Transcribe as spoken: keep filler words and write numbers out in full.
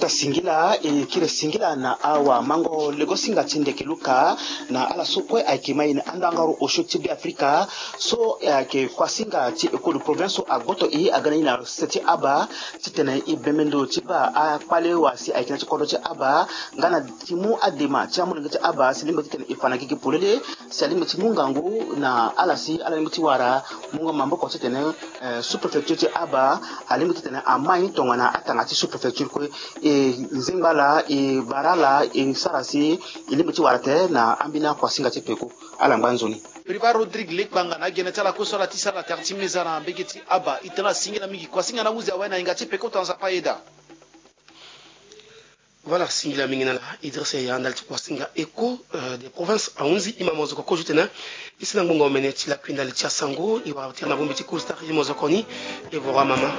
Singila e kiri singila na awamango legosinga ti ndeke luka na ala so kue ayeke ma e na andangaru osio ti Be Afrika. So ayeke kuasinga ti écho de province so agboto e aga na e na se ti aba titene e bembe ndo ti baa akpale wa si ayeke na ti kodro ti aba nga na ti mu adema ti amolenge ti aba si lingbi titene e fa na gigi polele. Si alingbi ti mu ngangu na ala si ala lingbi ti wara mungo maboko titene eh, sous-préfecture ti aba alingbi titene amai tongana atanga ti sous-préfecture kue. E nzengba ala e bara ala e sara si e lingbi ti wara tene na ambeni akuasinga ti peko. Ala ngba nzoni. Priva Rodrigue Lekpanga na agene ti ala kue so ala ti sara na tere ti meza na mbege ti aba. E tene ala singila mingi kuasinga na ahuzi awe na hinga ti peko to na nzapa ayeda. Voilà, singila mingi na ala Idrissa Yaya ndali ti kuasinga écho de province ahunzi. E ma mozoko kozo tene e si na ngbonga omene ti lakui ndali ti asango e wara tere na bongbi ti cool star e mozoko ni. E voro amama.